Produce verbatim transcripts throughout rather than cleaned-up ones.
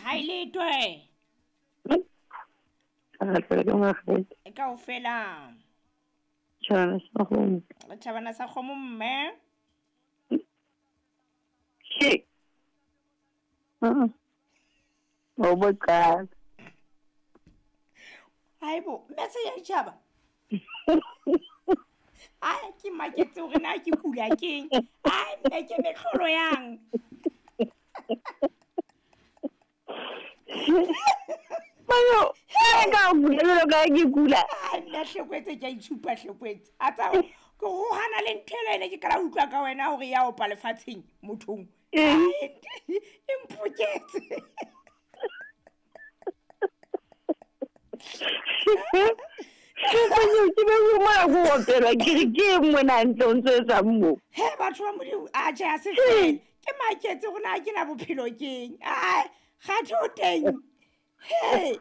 Ha ile twe. Ka tsela ke ngwe. Kaofela. Tjhabana sa kgomo. Tjhabana sa kgomo mme. Ke. Ah. O boka. Haibo, mme se ya tjhaba. Ai ke maketse hore na ke kula keng. Ai mme ke mehlolo yang. Mayo, ka bulela ka ke kula. Ai nna hlekwetse ke a itshupa hlekwetse. A tsa ke go hana le ntho ena ke kala utlwa ka wena hore ya opa lefatsheng mothong. Ai e mpoketse. Ke be go mo go opela ke re ke mona ntse o ntse etsa mo. He batho ba Modimo a tjhe a se fele. Ke maketse hore na ke na bophelo keng. Ai ga tho teng. Hey.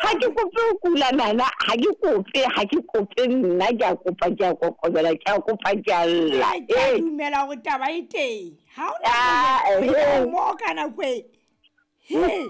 Ha ke kope ho kula nana, ha ke kope, ha ke kope nna ke a kopa ke a kokobela ke a kopa ke a lla. Ke a dumela hore taba e teng. Ha o na mo ka nako e. Hey.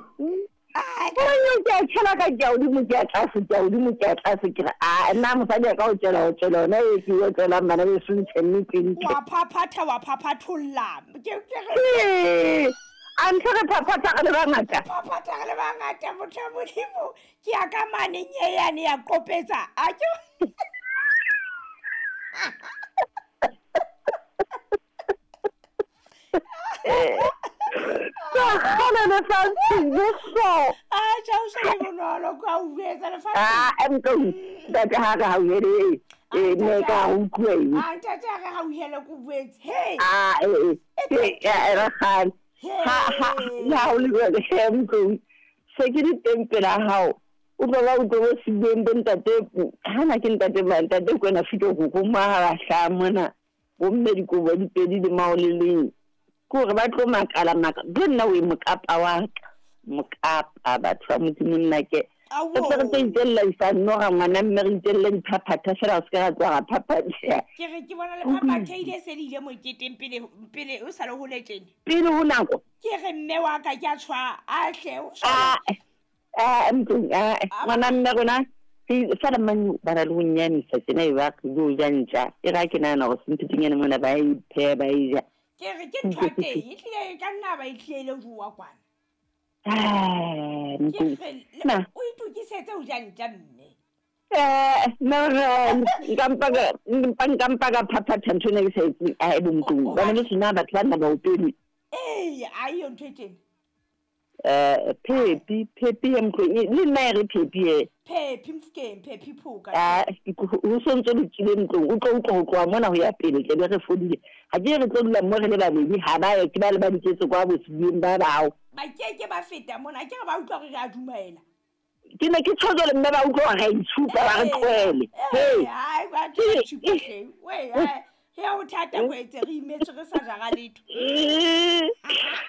Ai ke a tshela ka ke a hodimo ke a tlase ke a hodimo ke a tlase ke re a nna mosadi a ka o tshela o tshela ona e ke o tswelang bana beso ntshe nnete ntle. Wa phaphatha wa phaphatholla. Ke ke re a ntho re phaphatha re le bangata. Phaphatha re le bangata motho wa Modimo. Ke ya ka mane nyeyane ya kopetsa. A ke Kgale lefatshe jeso. Ah, tjha o shebe bonolo ka o etsa lefatshe. Ah, emtlong ntate ha re hauhele e ne ka utlwe. Ah, ntate ha re hauhele ko buetse. Hey. Ah, eh eh eh re kgale. Ha ha la o le jwale emtlong. Se ke di teng pela hao. O tlo ba o tlo se bueng bo ntate ha na ke ntate ba ntate kwena fito go go ma ha mona. Bo mme dikobo di pedi le mao le leng. Ke hore ba tlo makala maka ke nna o e mokapa wa ka mokapa batho ba Modimo nna ke re tse re tse itella isa nora ngwana mme re itella diphaphatha fela o se ka ra tloha ra phaphatheha. Ke re ke bona le phaphathehile se le ile moketeng pele pele o sa le hole tjena. Pele ho nako. Ke re mme wa ka ke a tshwa a hle o Ah ah ntlong ah ngwana mme rona fela mane ba na le ho nyamisa tjena e ba re jo ja ntja e ra ke nahana hore senthutunyana mona ba e pheha ba e ja. Ke re ke ntho teng e tlile ka nna ba e tlile ho jowa kwana. Ah, nna o itokisetse ho ja ntja mme. Eh, no no, nka mpa ka nka mpa ka phaphatha ntho ena ke sa etseng a e bomtlong. Bana le sena batho ba nna ba opelwe. Eh, a yo ntho e teng. Eh, phepi, phepi ya mtlong le nna e re phepi e. Phepi mfkeng, phepi phuka. Ah, ho sontso le tsile mtlong, o tlo utlwa ho tloha mona ho ya pele tle be re fodile. Ha ke re tlo dula mo re le babedi ha ba ye ke ba le ba diketso kwa bosibeng ba bao. Ba ke ke ba feta mona ke re ba utlwa re a dumela. Ke ne ke tshotse le mme ba utlwa re itshupa ba re tlohele. Hey, ai ba tshupa hle. We ai ya o thata go etse re imetse re sa jara letho.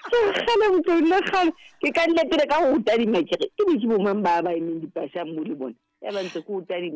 Kgale mtlong le kgale ke ka nne pele ka ho tadima ke re ke be ke bo mang ba ba emeng dipasha mo le bona. Ya ba ntse ke o tadima.